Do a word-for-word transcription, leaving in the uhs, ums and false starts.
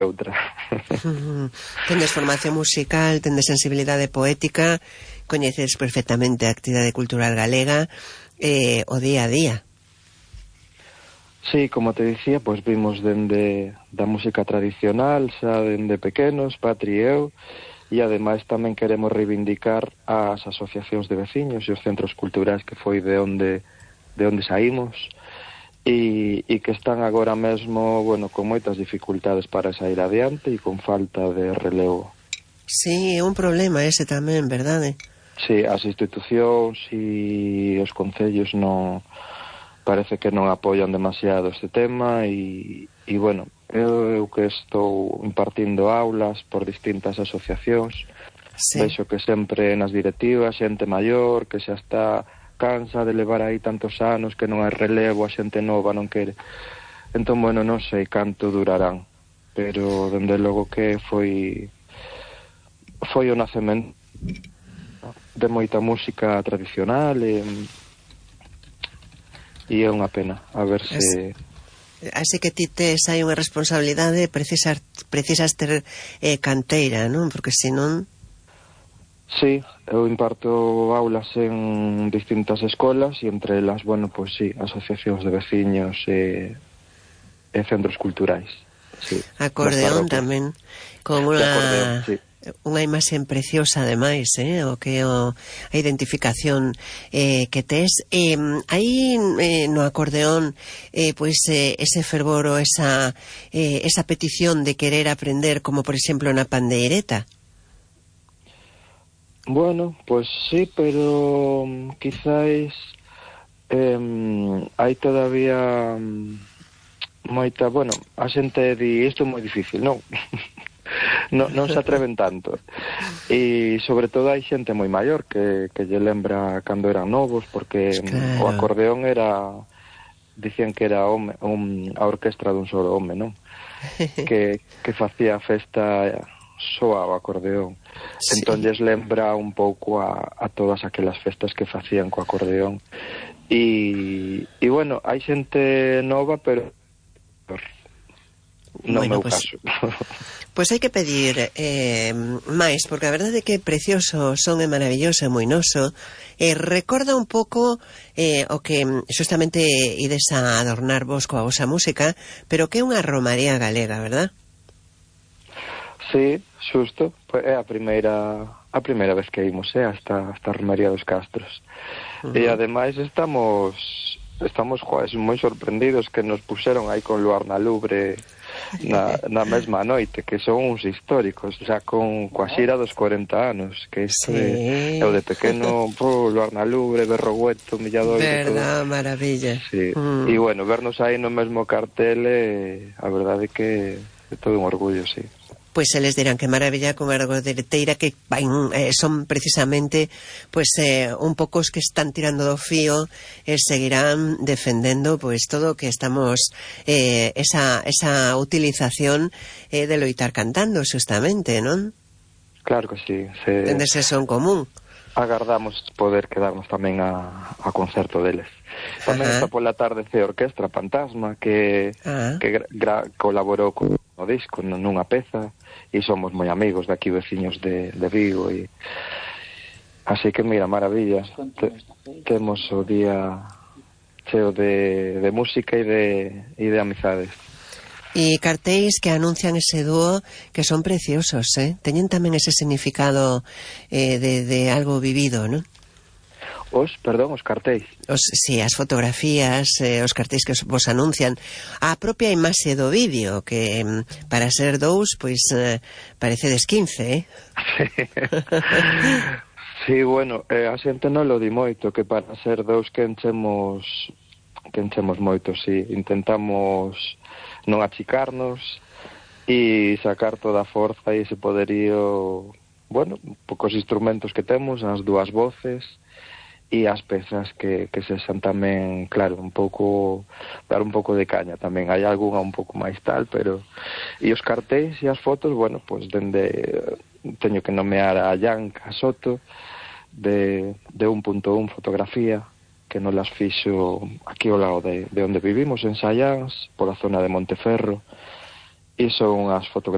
outra. Tendes formación musical, tendes sensibilidade poética, coñeces perfectamente a actividade cultural galega, eh, o día a día. Sí, como te dicía, pois vimos dende da música tradicional, xa dende pequenos, Patri e eu, e ademais tamén queremos reivindicar as asociacións de veciños e os centros culturais que foi de onde de onde saímos, e, e que están agora mesmo, bueno, con moitas dificultades para sair adiante e con falta de relevo. Sí, é un problema ese tamén, verdade? Sí, as institucións e os concellos non parece que non apoian demasiado este tema e, e bueno, eu, eu que estou impartindo aulas por distintas asociacións, sí. Vexo que sempre nas directivas xente maior que xa está cansa de levar aí tantos anos que non hai relevo, a xente nova non quere. Entón, bueno, non sei canto durarán, pero dende logo que foi foi o nacemento de moita música tradicional e, e é unha pena a ver se... Así que ti tes hai unha responsabilidade, precisas, precisas ter eh, canteira, non? Porque senón... Sí, eu imparto aulas en distintas escolas e entre elas, bueno, pois sí, asociacións de veciños e, e centros culturais. Sí, acordeón tamén, con unha... acordeón, sí. Unha imaxe preciosa ademais, eh, o que o, a identificación eh, que tes. Eh, aí eh, no acordeón eh, pois eh, ese fervor ou esa, eh, esa petición de querer aprender, como por exemplo na pandeireta. Bueno, pues sí, pero um, quizáis eh, hai todavía um, moita, bueno, a xente di isto é moi difícil, non? non, non se atreven tanto. E sobre todo hai xente moi maior que, que lle lembra cando eran novos, porque claro. O acordeón era, dicían que era home, un, a orquestra dun solo home, non? que, que facía a festa soa o acordeón. Sí. Entón lles lembra un pouco a, a todas aquelas festas que facían co acordeón. E, e bueno, hai xente nova, pero non bueno, meu pues, caso. Pois hai que pedir eh, máis, porque a verdade é que é precioso, son é maravilloso, é moi noso. Eh, recorda un pouco eh, o que justamente ides a adornarvos coa vosa música, pero que é unha romaría galega, verdad? Sí, xusto, é a primeira a primeira vez que imos, eh, hasta hasta a romaría dos Castros. Uh -huh. E ademais estamos estamos, joder, moi sorprendidos que nos puxeron aí con Luar na Lubre na, na mesma noite, que son uns históricos, xa con coa xira dos corenta anos, que isto sí. é, eu de pequeno, po, Luar na Lubre, Berrogueto, Milladoiro, verdad, todo. Maravilla. Sí. Mm. E bueno, vernos aí no mesmo cartel, eh, a verdade é que é todo un orgullo, sí. Pois eles dirán que maravilla con a dereteira que van, eh, son precisamente pois eh, un pouco os que están tirando do fío e eh, seguirán defendendo pois todo o que estamos eh, esa, esa utilización eh, de loitar cantando justamente, non? Claro que sí, se... tendes eso en común. Agardamos poder quedarnos tamén a, a concerto deles. Tamén está pola tarde C Orquestra Fantasma que, que gra, colaborou con o disco nunha peza e somos moi amigos de aquí, veciños de, de Vigo e así que mira, maravilla. Te, temos o día cheo de, de música e de, e de amizades. E cartéis que anuncian ese dúo que son preciosos, eh? Teñen tamén ese significado eh, de, de algo vivido, non? Os, perdón, os cartéis. Os, sí, as fotografías, eh, os cartéis que vos anuncian, a propia imaxe do vídeo, que para ser dous, pois eh, parecedes quince, eh? Sí, bueno, eh, a xente non lo di moito, que para ser dous que enchemos, que enchemos moito, sí, intentamos non achicarnos e sacar toda a forza e ese poderío, bueno, pocos instrumentos que temos, as dúas voces e as pezas que, que se xan tamén, claro, un pouco dar un pouco de caña tamén, hai algunha un pouco máis tal, pero e os cartéis e as fotos, bueno, pois pues, dende teño que nomear a Yanka Soto de, de un punto un fotografía que non las fixo aquí ao lado de, de onde vivimos, en Sallans, pola zona de Monteferro, e son as fotografías